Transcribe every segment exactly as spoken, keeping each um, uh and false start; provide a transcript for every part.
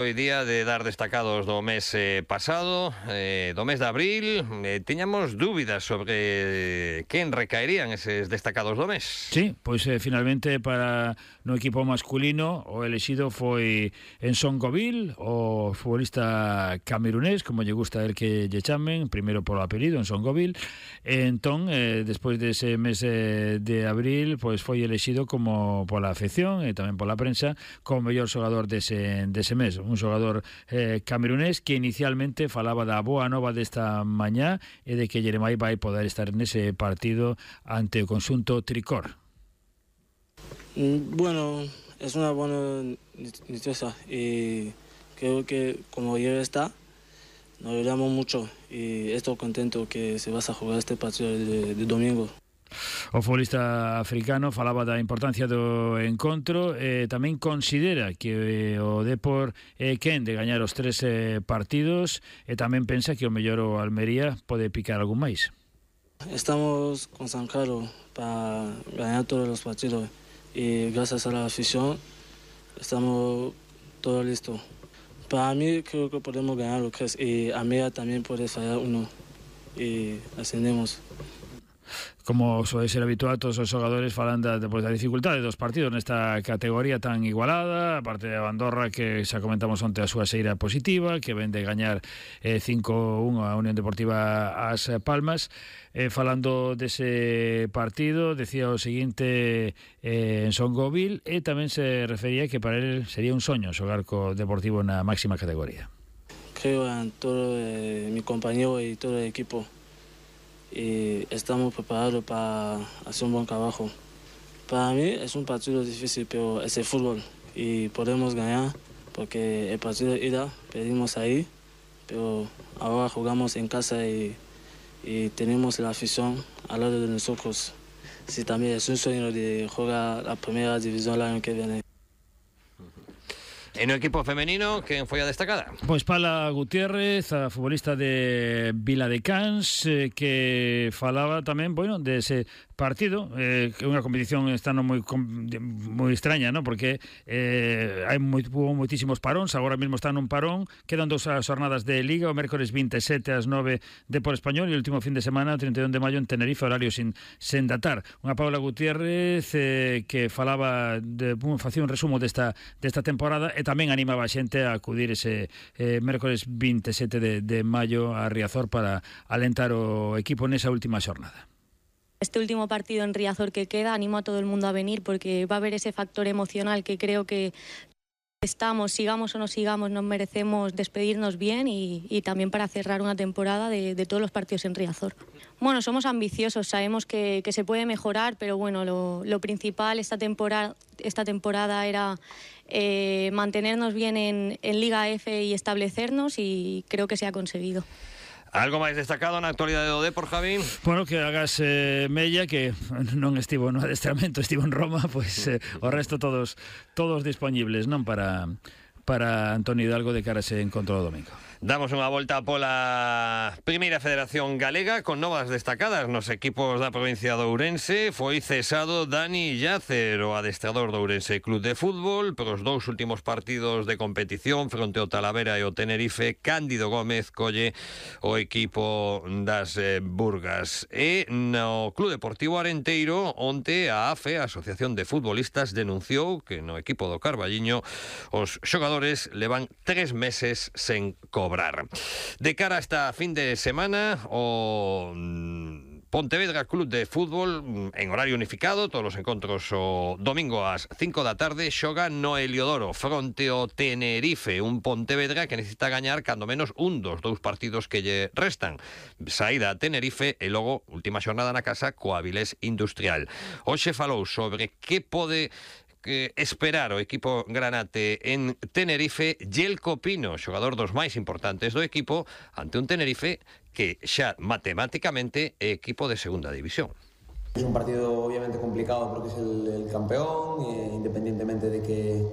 Hoy día de dar destacados do mes eh, pasado, eh, do mes de abril, eh, tiñamos dúbidas sobre quen recaerían eses destacados do mes. Sí, pois eh, finalmente para no equipo masculino o elexido foi Enson Govil, o futbolista camerunés, como lle gusta el que lle chamen, primeiro polo apelido, Enson Govil. Entón, eh, despois dese mes eh, de abril, pois foi elexido como pola afección e tamén pola prensa como mellor xogador dese, dese mes. Un xogador eh, camerunés que inicialmente falaba da boa nova desta mañá e de que Yeremai vai poder estar nese partido ante o conxunto tricor. Bueno, es una buena noticia y creo que como ya está, nos alegramos mucho y estoy contento que se va a jugar este partido de, de domingo. O futbolista africano falaba da importancia do encontro e tamén considera que o Depor é quen de gañar os tres eh, partidos e tamén pensa que o mellor o Almería pode picar algún máis. Estamos concentrados para ganar todos los partidos y gracias a la afición estamos todos listos. Para mí creo que podemos ganar los tres y Almería también puede fallar uno y ascendemos. Como suele ser habitual, todos os xogadores falan da, pues, da dificultade dos partidos nesta categoría tan igualada, aparte de Andorra, que xa comentamos onte a súa xeira positiva, que ven de gañar eh, cinco uno a Unión Deportiva As Palmas. Eh, falando dese partido, decía o seguinte eh, en Son Govil, e tamén se refería que para él sería un soño xogar co Deportivo na máxima categoría. Creo en todo eh, mi compañero y todo el equipo. Y estamos preparados para hacer un buen trabajo. Para mí es un partido difícil, pero es el fútbol y podemos ganar porque el partido de ida perdimos ahí, pero ahora jugamos en casa y, y tenemos la afición al lado de nosotros. Sí, también es un sueño de jugar la primera división el año que viene. En o equipo femenino, quen foi a destacada? Pois Pala Gutiérrez, a futbolista de Viladecans, eh, que falaba tamén, bueno, dese partido, eh, que é unha competición está no moi moi extraña, ¿no? Porque eh, hai moi, hubo moitísimos paróns, agora mesmo están nun parón, quedan dos jornadas de Liga, o mércores vinte e sete ás nove de por Español e o último fin de semana, o trinta e un de maio en Tenerife, horario sin, sen datar. Unha Paula Gutiérrez eh, que falaba, de, facía un resumo desta, desta temporada e tamén animaba a xente a acudir ese eh, mércores vinte e sete de, de maio a Riazor para alentar o equipo nesa última xornada. Este último partido en Riazor que queda, animo a todo el mundo a venir porque va a haber ese factor emocional que creo que estamos, sigamos o no sigamos, nos merecemos despedirnos bien y, y también para cerrar una temporada de, de todos los partidos en Riazor. Bueno, somos ambiciosos, sabemos que, que se puede mejorar, pero bueno, lo, lo principal esta temporada, esta temporada era eh, mantenernos bien en, en Liga F y establecernos y creo que se ha conseguido. Algo máis destacado na actualidade do Depor, Javi? Bueno, que hagas eh, mella, que non estivo no adestramento, estivo en Roma, pois pues, eh, o resto todos todos disponibles, non, para para Antonio Hidalgo de cara a ese encontro do domingo. Damos unha volta pola Primeira Federación Galega con novas destacadas nos equipos da provincia de Ourense. Foi cesado Dani Yacer, o adestrador do Ourense Club de Fútbol, pros dous últimos partidos de competición fronte ao Talavera e ao Tenerife. Cándido Gómez colle o equipo das eh, Burgas. E no Club Deportivo Arenteiro, onte a A F E, a Asociación de Futbolistas, denunciou que no equipo do Carballiño os xogadores levan tres meses sen cobrar. De cara a esta fin de semana, o Pontevedra Club de Fútbol en horario unificado, todos os encontros o domingo ás cinco da tarde, xoga no Heliodoro fronte ao Tenerife, un Pontevedra que necesita gañar cando menos un dos dous partidos que lle restan. Saída a Tenerife e logo última xornada na casa coa Avilés Industrial. Hoxe falou sobre que pode que esperar o equipo granate en Tenerife. Yelko Pino, xogador dos máis importantes do equipo, ante un Tenerife que xa matemáticamente é equipo de segunda división. Es un partido obviamente complicado porque es el, el campeón, eh, independientemente de que,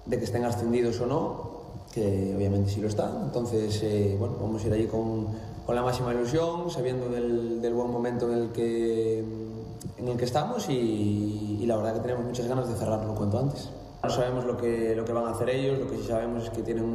de que estén ascendidos o no, que obviamente sí lo están. Entonces, eh, bueno, vamos a ir allí con, con la máxima ilusión, sabiendo del, del buen momento en el que en el que estamos y, y la verdad que tenemos muchas ganas de cerrarlo cuanto antes. No sabemos lo que, lo que van a hacer ellos, lo que sí sabemos es que tienen